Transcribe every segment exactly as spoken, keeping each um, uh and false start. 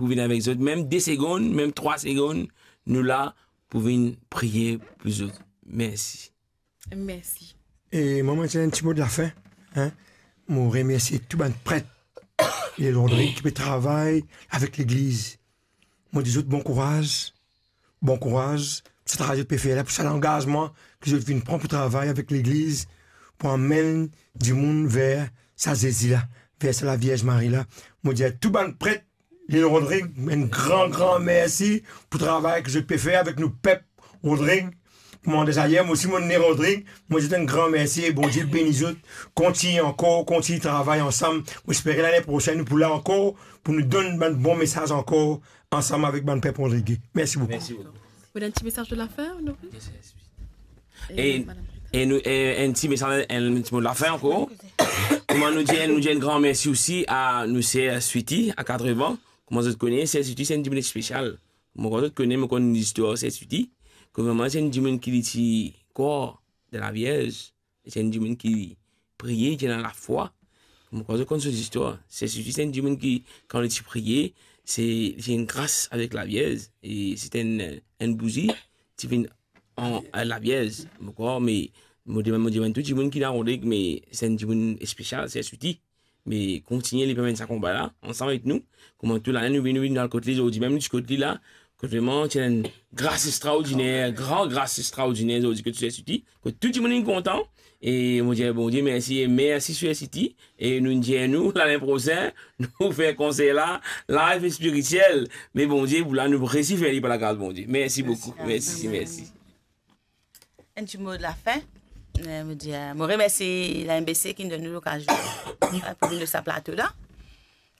pou vinn avek zot, mem de segonn, mem trwa segonn, nou la pou vinn priye pou zot. Mersi. Mersi. E mwa, mo dir enn ti mo de lafin, hein. Mo remersie tou bann pret Lil Rodrig ki pe travay avek legliz. Mo dir zot bon kouraz, bon kouraz pou sa travay zot pe fer la, pou sa langazman ki zot finn pran pou travay avek legliz, pou amenn dimoun ver sa Zezi la, ver sa Lavierz Mari la. Mo dir tou bann pret Lil Rodrig, enn gran, gran mersi pou travay ki zot pe fer avek nou pep Rodrig. Kouma dezayer, mo osi mo ne Rodrig, mo dir zot enn gran mersi e Bondie beni zot. Kontign ankor, kontign travay ansam. Mo espere lane prosenn nou pou la ankor, pou nou donn bann bon mesaz ankor ansam avek bann pep Rodrig. Mersi boukou. Mersi boukou. Ou ena enn ti mesaz de lafin, Honoré? Yes, yes, wi. E, e madam Rita? E nou, e, enn ti mesaz, enn ti mo de lafin ankor. Kouma nou dir, nou dir enn gran mersi osi a nou ser Switi, a Katrevan. Kouma zot kone, ser Switi se enn dimoun spesial. Mo krwar zot kone, mo konn listwar ser Switi. Kouma vremem se enn dimoun ki li ti krwar dan Lavierz. Se enn dimoun ki priye, ki ena lafwa. Mo krwar zot konn so zistwar. Se, se, se enn dimoun ki, kan li ti priye, se, se enn gras avek Lavierz. E se enn, enn bouzi, ti vinn an, an Lavierz. Mo krwar, me mo demann, mo demann tou dimoun ki la Rodrig, me se enn dimoun spesial, se Switi. Me kontigne, li pe mennen sa konba la, ansam avek nou. Kouma tou lane nou vinn, nou vinn al kot li, zordi mem nou ti kot li la, kot vremem ti ena enn gras extraordiner, gran gras extraordiner, zordi kot Switi, kot tou dimoun inn kontan. E mo dir Bondie mersi, e mersi Switi. E nou dir nou, lane prosenn, nou fer konser la, live spiritiel. Me Bondie, pou la, nou resi fer li par lagras Bondie. Mersi boukou. Mersi, mersi. Enn ti mo de lafin. Eh, mo dir, eh, mo remersi la M B C ki donn nou lokazion, eh, pou vinn lor sa plato la.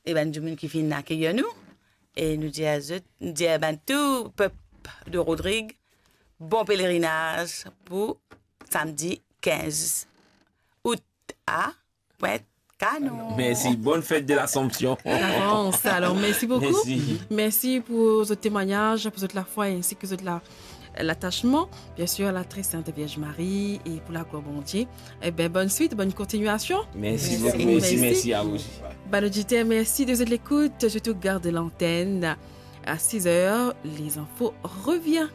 E bann dimoun ki vinn akeyir nou. E nou dir zot, nou dir bann tou pep de Rodrig, bon pelerinaz pou samdi kinz out a Pointe Canon. Mersi, bonne fête de l'Assomption. D'avance. Alors, merci beaucoup. Merci. Merci pour votre témoignage, pour votre la foi ainsi que votre la, l'attachement, bien sûr, à la très sainte Vierge Marie et pour la gloire Bondie. Eh ben, bonne suite, bonne continuation. Merci beaucoup. Merci, merci à vous aussi. Bann oditer, mersi de zot lekout. Je te garde l'antenne. À six heures, les infos reviennent.